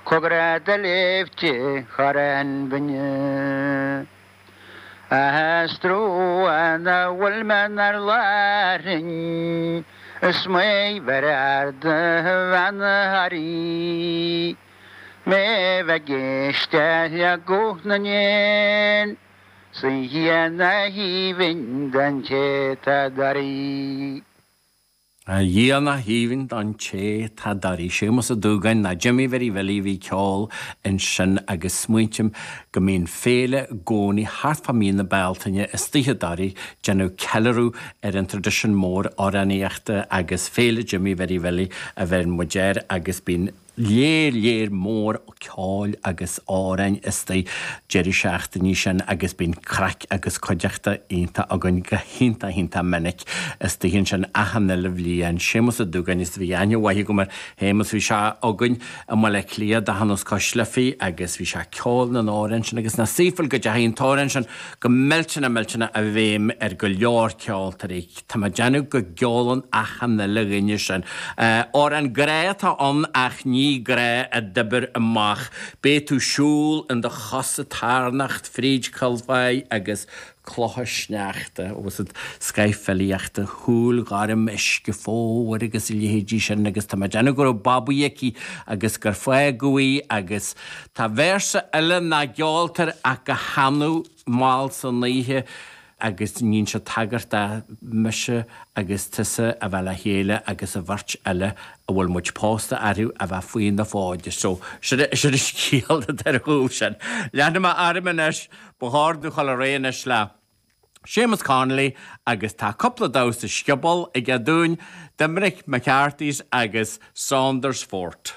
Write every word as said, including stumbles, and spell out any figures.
Cogar do léamh di thar an bhfuinneog. A stró na bhfuil mé 'nar lárinn, Is mé bheir ard bhean Harry. Mé bheith éiste le guth na n-éan, 'S a Thiarna aoibhinn don té 'tá dáiríre. A Thiarna aoibhinn don té tá dáiríre. Séamus Ó Dúgáin ná Jimmy Mhary Bhilly a bhí ag ceol ansin agus smaointím go mbíonn féile i gcónaí thart fá mí na Bealtaine istigh i dToraigh déanamh ceiliúradh ar an traidisiún mór amhránaíochta agus Féile Jimmy Mhary Bhilly a bheireann muid air agus bíonn léar léar mór ceoil agus amhráin istigh deireadh seachtainí sin agus bíonn craic agus cuideachta iontach againn go hiontach iontach minic istigh ansin achan uile bhliain. Séamus Ó Dúgáin is bhí aithne mhaith agam ar Shéamus bhí sé againn i mBaile Átha Cliath d'achan os Cois Life agus bhí sé ag ceol na n-amhrán sin agus na saoifil go dteachaigh an t-amhrán sin go millteanach millteanach i bhfeidhm ar go leor ceoltóirí. Tá mé ag déanamh go gceolann achan uile dhuine sin. Amhrán grá atá ann ach ní grá a d'oibir amach. Beidh tú siúl in do chosa tarnocht fríd Chill Bhaidh agus clocha sneachta agus an scoith filíochta, shúil ghorm uisce fómhair agus a leithéidí sin agus tá mé ag déanamh go raibh babaí aici agus gur fágadh í agus tá véarsa eile nach gceoltar ach go hannamh mall san oíche agus níonn sé tagairt do mise agus tusa a bheith le chéile agus an bheirt eile a bhfuil muid pósta orthu a bheith faoi na fóide. So sin sin an scéal atá ar chúl sin. Leanfaidh mé orm anois, ba chóir domh dul ar aghaidh anois le Séamus Connolly agus tá cúpla damhsa scioból aige dúinn, Doiminic McCarthy's agus Saundersfoot.